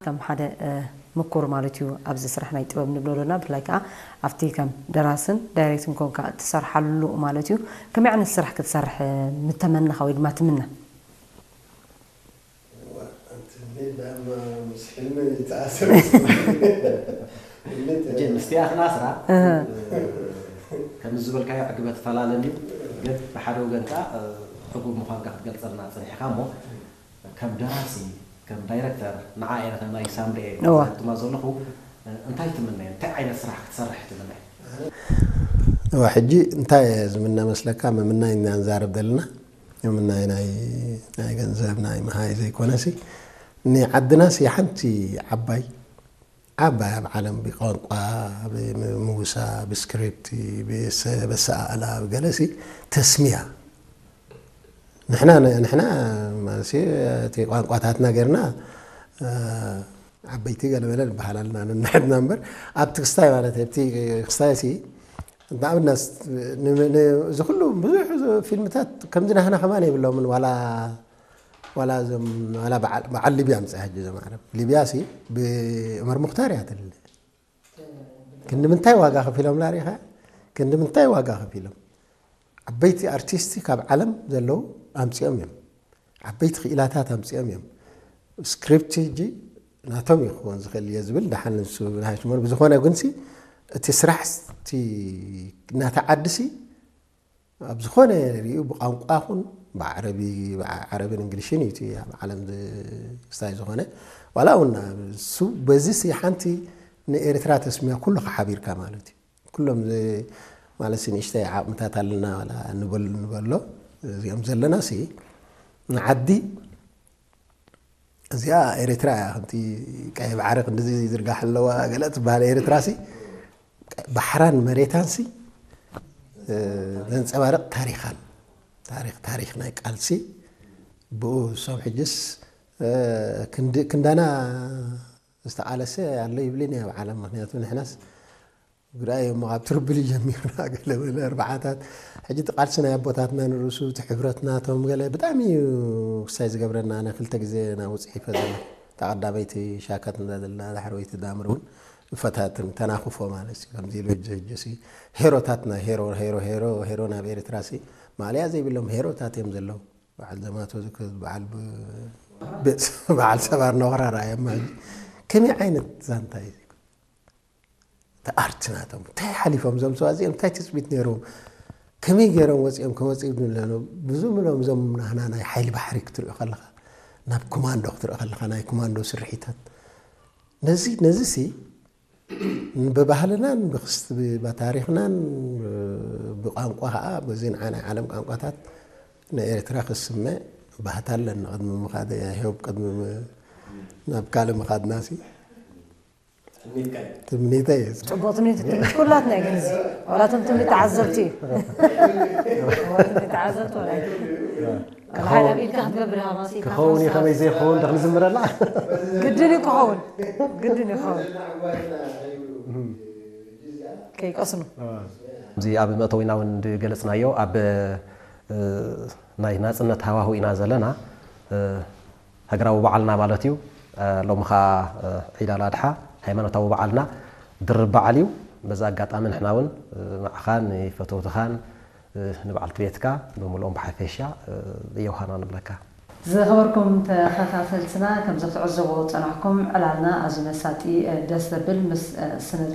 ከም ሓደ ምኩር ማለት እዩ ኣብዚ ስራሕ ናይ ጥበብ ንብሎ ዶና ብፍላይ ከዓ ኣብቲ ከም ደራስን ዳይሬክትን ኮንካ እትሰርሓሉ ማለት እዩ። ከመይ ዓይነት ስራሕ ክትሰርሕ ምተመነኻ ወይ ድማ ትምነ? ምስቲኣኽና ስራ ከም ዝበልካዮ ዕግበት ፈላለን እዩ። ግን ብሓደ ወገን ከዓ ዕጉብ ምዃንካ ክትገልፀልና ፀኒሕካ እሞ ከም ደራሲ ከም ዳይረክተር ንዓ ኤረተ ናይ ሳምሪኤ ትማ ዘለኹ እንታይ ትምነየ? እንታይ ዓይነት ስራሕ ክትሰርሕ ትምነየ? እዋ ሕጂ እንታይ ዝምነ መስለካ? ምምናይ ኢና ንዛረብ ዘለና። ምምናይ ናይ ናይ ገንዘብ ናይ መሃይ ዘይኮነሲ ንዓድናሲ ሓንቲ ዓባይ ዓባይ ኣብ ዓለም ብቋንቋ ብምውሳ ብስክሪፕት ብሰበሰኣእላ ብገለሲ ተስሚያ ንሕና ንሕና ማለት እቲ ቋንቋታትና ጌርና ዓበይቲ ገለበለ ንበሃል ኣለና ነንሕድና እምበር ኣብቲ ክስታይ ማለት ኣብቲ ክስታይ ሲ ንኣብነት እዚ ኩሉ ብዙሕ ፊልምታት ከምዚ ናህና ከማን የብሎምን ዋላ ዋላ እዞም ዋላ በዓል ሊብያ ምፅእ ሕጂ እዞም ዓረብ ሊብያ ሲ ብዑመር ሙክታር እያ ትልለ ክንዲ ምንታይ ዋጋ ከፊሎም ላሪኻ ክንዲ ምንታይ ዋጋ ከፊሎም ዓበይቲ ኣርቲስቲ ካብ ዓለም ዘለዉ ኣምፂኦም እዮም ዓበይቲ ክኢላታት ኣምፂኦም እዮም ስክሪፕት ሕጂ ናቶም እዩ ክኸውን ዝኽእል እየ ዝብል ደሓን ንሱ ናሽሞር ብዝኾነ ግንሲ እቲ ስራሕ እቲ ናታ ዓዲ ሲ ኣብ ዝኾነ ሪኡ ብቋንቋ ኹን ብዓረቢ ዓረብን እንግሊሽን እዩ እቲ ኣብ ዓለም ክስታይ ዝኾነ ዋላ እውን እሱ በዚ ሲ ሓንቲ ንኤርትራ ተስሚያ ኩሉ ሓቢርካ ማለት እዩ ኩሎም ማለት ንእሽተይ ዓቕምታት ኣለና ንበሎ እዚኦም ዘለና ሲ ንዓዲ እዚኣ ኤርትራ እያ ከምቲ ቀይ ባሕሪ ክንድዚ ዝርጋሕ ኣለዋ ገለ ትበሃል ኤርትራ ሲ ባሕራን መሬታን ሲ ዘንፀባርቕ ታሪኻን ታሪኽ ታሪኽ ናይ ቃልሲ ብኡ እሶም ሕጅስ ክንዳና ዝተቓለሰ ኣሎ ይብልን ኣብ ዓለም ምክንያቱ ንሕናስ ግራይ እሞ ካብ ትርብል ጀሚርና ገለ በለ ኣርባዓታት ሕጂ እቲ ቃልሲ ናይ ኣቦታትና ንርእሱ እቲ ሕብረት ናቶም ገለ ብጣዕሚ እዩ ክሳይ ዝገብረና ኣነ ክልተ ግዜ ናብ ውፅዒ ፈዘና ተቐዳመይቲ ሻካት እንዳ ዘለና ዳሕረወይቲ ዳምር እውን ይፈታትን ተናኽፎ ማለት እዩ ከምዚ ኢሉ ሕጂ ሕጂ ሲ ሄሮታትና ሄሮ ሄሮ ሄሮ ሄሮ ናብ ኤርትራ ሲ ማእለያ ዘይብሎም ሄሮታት እዮም ዘለዉ በዓል ዘማቶ ዝክዝ በዓል በዓል ሰባር ነኽራ ራእዮም ማለት ከመይ ዓይነት ዛንታ እዩ እቲ ኣርት ናቶም እንታይ ሓሊፎም እዞም ሰባት እዚኦም እንታይ ትፅቢት ነይርዎም ከመይ ገይሮም ወፂኦም ከመፅኡ ንብለኖ ብዙም ኢሎም እዞም ናህና ናይ ሓይሊ ባሕሪ ክትሪኦ ከለካ ናብ ኮማንዶ ክትሪኦ ከለካ ናይ ኮማንዶ ስርሒታት ነዚ ነዚ ሲ ብባህልናን ብክስቲ ብታሪክናን ብቋንቋ ከዓ በዚ ንዓ ናይ ዓለም ቋንቋታት ንኤርትራ ክስመ ባህታ ኣለና ቅድሚ ምኻድ ሄብ ቅድሚ ናብ ካልእ ምኻድና ሲ ትምኒተይ እዩ። ጽቡቕ ትምኒት ትምኒት ኩላትና እዩ ግን እዚ ዋላ እቶም ትምኒት ተዓዘብቲ እዩ። ትምኒት ተዓዘብቲ ወላ ኣይኮነ። ወላ ሓደ ኣብ ኢድካ ክትገብር ኢኻ መሲልካ ክኸውን እዩ ከመይ ዘይኸውን ዶ ክንዝምረላ? ግድን እዩ ክኸውን ግድን እዩ ክኸውን። ከይቀስኑ። እዚ ኣብ መእተዊና እውን ዝገለጽናዮ ኣብ ናይ ናጽነት ሃዋሁ ኢና ዘለና። ሃገራዊ በዓልና ማለት እዩ። ሎሚ ኸዓ ዒድ ኣል ኣድሓ ሃይማኖታዊ በዓልና ድርብ በዓል እዩ። በዚ ኣጋጣሚ ንሕና እውን ንዓኻን ንፈተውትኻን ንበዓልቲ ቤትካ ብምልኦም ብሓፈሻ የውሃና ንብለካ። ዝኸበርኩም ተኸታተልትና ከምዚ ክትዕዘቦ ዝጸናሕኩም ዕላልና ኣዝዩ መሳጢ ደስ ዘብል ምስ ስነ